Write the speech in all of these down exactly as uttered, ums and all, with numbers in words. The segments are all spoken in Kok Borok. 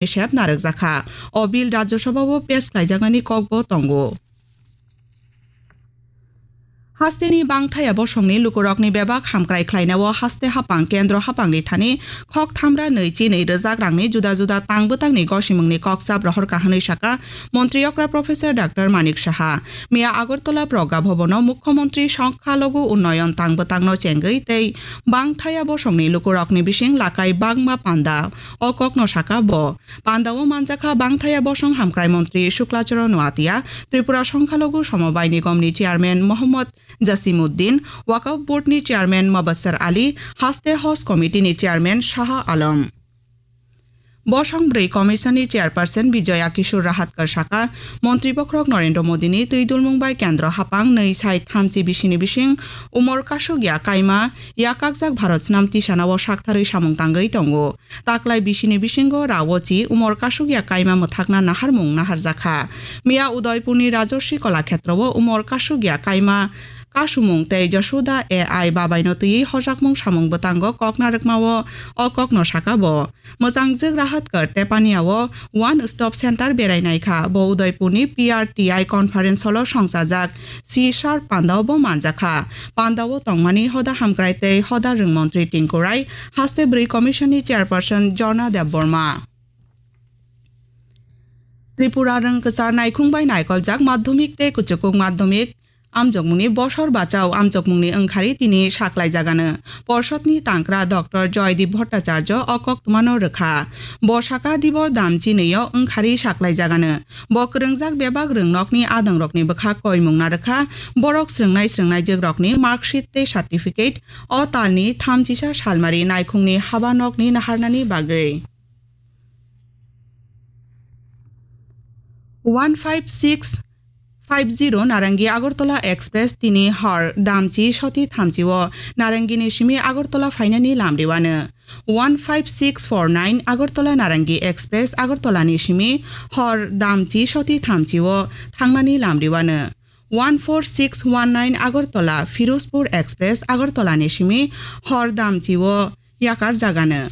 ni sep narwkjakha. O bill Rajya Sabha o pass khlaijaknani kokbo tongo. Hasteni bangthaya bosongni lukurokni bebak hamkrai khlainao haste hapang kendro hapangni thani khok thamra nwi chi nwi rwjak rangni juda juda tang bwtangni gosimungni kokchap rohorkha hwnwi sakha Montri okra Professor Doctor Manik Saha. Miya Agartala Progga Bhabono Mukhyamantri Songkhalogu Unnayan tang bwtangno chengwi tei bangthaya bosongni lukurokni bising lakai bangma panda o kokno sakha bo. Pandao manjakha bangthaya bosong hamkrai montri Shukla Charan Noatia, Tripura Songkhalogu Somobai Nigomni chairman Mohammad Jasimuddin, Waqf Boardni chairman Mubassar Ali, Haste Host Committeeni chairman Shaha Alam. Bosong bwrwi Commissionni chairperson Bijoya Kishore Rahatkar sakha, Montri bokhorok Narendra Modini twi dulmung bai kendro hapang nwi sai thamchi bisini bising umor kasugya kaima yakakjak Bharat Snam Tisanao saktharwi samung tangwi tongo. Taklai bisini bisingo Raochi umor kasugya kaima mwthakna naharmung naharjakha. Miya Udaipurni Rajarshi Kalakshetrowo umor kasugya kaima kasumung tei Jashoda A I babaino twiwi hojakmung samung bwtango kok narwkmao o kokno sakha bo. Mwchangjwk Rahatkar Tepaniao One Stop Center berai naikha. Bo Udaipurni P R T I conference hall-o songchajak. Si sar pandao bo manjakha. Pandao tongmani hoda hamkrai tei hoda rwng montri Tinku Rai, haste bwrwi commission ni chairperson Jorna Debbarma. Tripura rwng kwchar naikhung bai naikoljak madhyamik tei kuchukuk madhyamik amjokmungni bosor bachao amjokmungni wngkhari tini saklaijagano. Porshotni tangkra Doctor Joydeep Bhattacharya o koktwmano rwkha. Bo saka Dibor Damchi nwi-o wngkhari saklaijagano. Bo kwrwngjak bebak rwngnokni adongrokni bwkha koimung narwkha, borok srwngnai srwngnaijwkrokni marksheet tei certificate o talni thamchisa salmari naikhungni habanokni naharnani bagwi. One five six five zero Narangi Agartala Express tini hor Damchi soti thamchi o Narangini simi Agartala phainani lamriwano. One five six four nine Agartala Narangi Express Agartala ni simi hor Damchi soti thamchi o thangnani lamriwano. One four six one nine Agartala Firozpur Express Agartala ni simi hor Damchi o yakar jagano.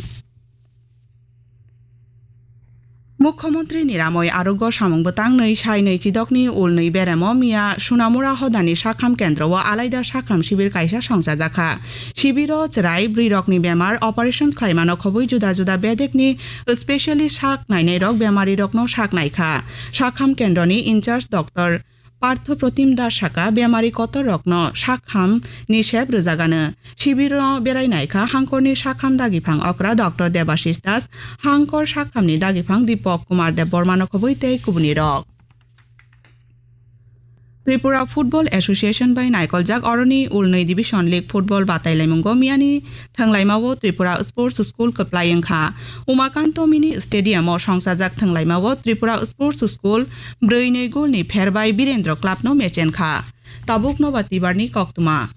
Mukhyamantri Niramoi Arogya Samung Bwtang nwi sai nwi chidokni ulnwi beremo miya Sunamura hodani sakham kendro o alaida sakham sibir kaisa songchajakha. Sibiro chwrai bwrwirokni bemar operation khlaimano khobwi juda juda bedekni specialist sak nainairok bemarirokno sak naikha. Sakham kendroni in charge Doctor Partho Protim Das sakha bemari kotor rokno sakham ni sep rwjagano. Sibiro berai naikha hangkorni sakham dagiphang okra Doctor Debashish Das, hangkor sakhamni dagiphang Deepak Kumar Debbarmano khobwi tei kubuni rok. Tripura Football Association bai naikoljak oroni ulnwi Division League Football batailaimungo miyani thwnglaimao Tripura Sports School kwplai wngkha. Umakanto Mini Stadium o songchajak thwnglaimao Tripura Sports School brwi nwi goal ni pher bai Birendra Club no mechen kha. Tabuk Nobar Tibar ni koktwma.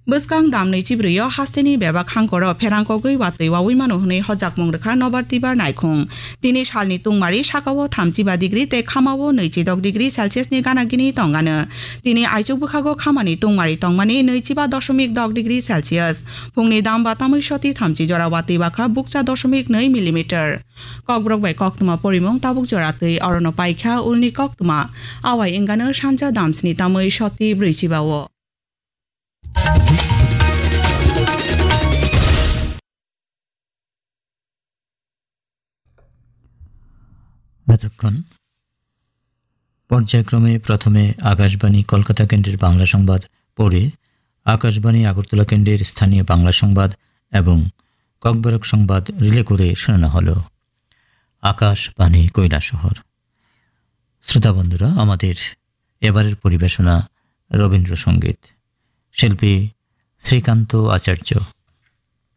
Bwskang dam nwi chibrwi o hasteni bebak hangkoro pherang kogwi watwi wawi mano hwnwi hojakmung rwkha Nobar Tibar naikhung. Tini salni tungmari sakao thamchiba degree tei khamao nwichidok degree Celsius ni gana gini tongano. Tini aichuk bwkhago khamani tungmari tongmani nwichiba doshomik dok degree Celsius. Phungni dam ba tamwi soti thamchi jora watwi bakha bukcha doshomik nwi millimeter. Kokborok bai koktwma porimung tabuk jora twi orono paikha ulni koktwma. Awai wngano sanja dam sni tamwi soti brwichiba o. এতক্ষণ পর্যায়ক্রমে প্রথমে আকাশবাণী কলকাতা কেন্দ্রের বাংলা সংবাদ, পরে আকাশবাণী আগরতলা কেন্দ্রের স্থানীয় বাংলা সংবাদ এবং ককবরক সংবাদ রিলে করে শোনানো হলো। আকাশবাণী কৈলাসহর। শ্রোতা বন্ধুরা, আমাদের এবারের পরিবেশনা রবীন্দ্রসঙ্গীত। শিল্পী শ্রীকান্ত আচার্য।